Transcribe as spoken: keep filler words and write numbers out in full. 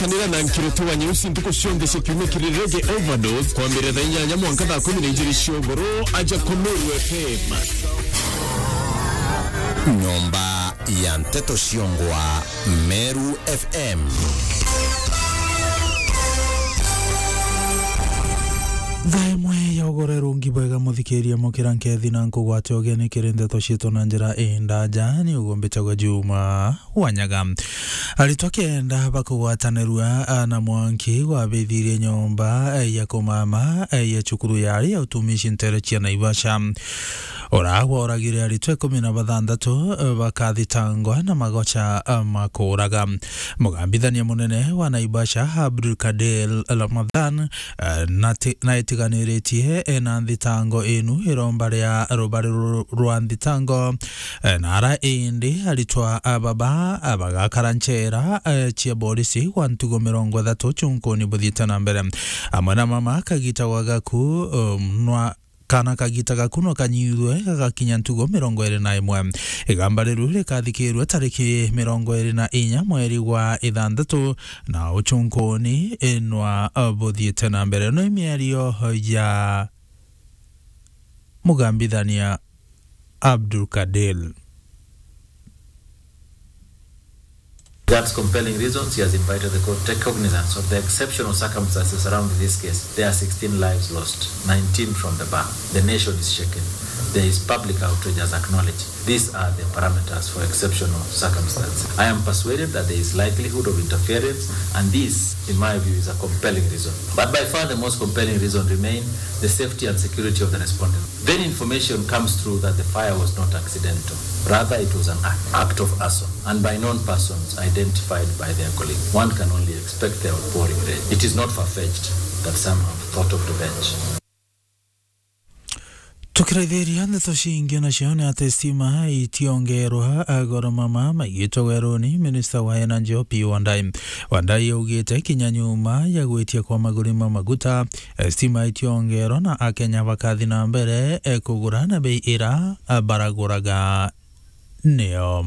Kanira na Nkirito wa Nyeusi ntuku cionthe cia kiumia kiri Reggae Overdose, kwambirira thaa inyanya mwanka thaa kumi na ijiri cia ugoro, aja ku Meru F M. Nyomba ya nteto ciongwa, Meru F M. Thaa imwe ya ugoro rungi bwega, muthikiria, mukira nkethi na nkugwate ugeni kiri nteto cietu na njira indaja, ni ugumbitagwa Juma Wanyaga. Aritwa kenda bakugwatanirua, a, na mwanki gwabithirie nyomba, e, ya kumama, e, ya cukuru yari ya utumishi ntere cia Naivasha. Ura gworagire aritwa ikumi na bathanthatu, e, bakathitangwa na magocha, e, ma kuuraga. Mugambithania munene wa Naivasha, Abdul Kadir Ramadhan, e, nati-, naitiganiritie, e, na nthitango inu iromba ria rubari ru-, rwa nthitango. E, na ara indi aritwa a baba, a, bagakara nchera, e, cia borisi gwa ntugo mirongo ithatu chunkuni buthiite na mbere. Amwe na mama kagita gwa gaku, um, nwa, kana kagita gaku no kanyithwe gagakinya ntugo mirongo iri na imwe. Igamba riru rikathikirwe tariki mirongo iri na inya mweri gwa ithanthatu, na uchunkuni inwa, uh, buthiite na mbere. No imiario ya mugambithania Abdul Kadir. That's compelling reasons. He has invited the court to take cognizance of the exceptional circumstances surrounding this case. There are sixteen lives lost, nineteen from the bar. The nation is shaken. There is public outrage as acknowledged. These are the parameters for exceptional circumstances. I am persuaded that there is likelihood of interference, and this, in my view, is a compelling reason. But by far the most compelling reason remain the safety and security of the respondent. Then information comes through that the fire was not accidental. Rather, it was an act, act of arson, and by known persons identified by their colleague. One can only expect the outpouring rage. It is not far-fetched that some have thought of revenge. Tukiraithiria ndeto cingi nacio ni ati stima itiongerwa, a, goro mama maigitwe weruni. Minista wa Energy Opiyo Wandayi, Wandayi augite kinya nyuma ya gwitia kwa maguri ma maguta, e, stima itiongerwa na Akenya bakathi na mbere, e, kugura na bei ira, a, baraguraga niyo.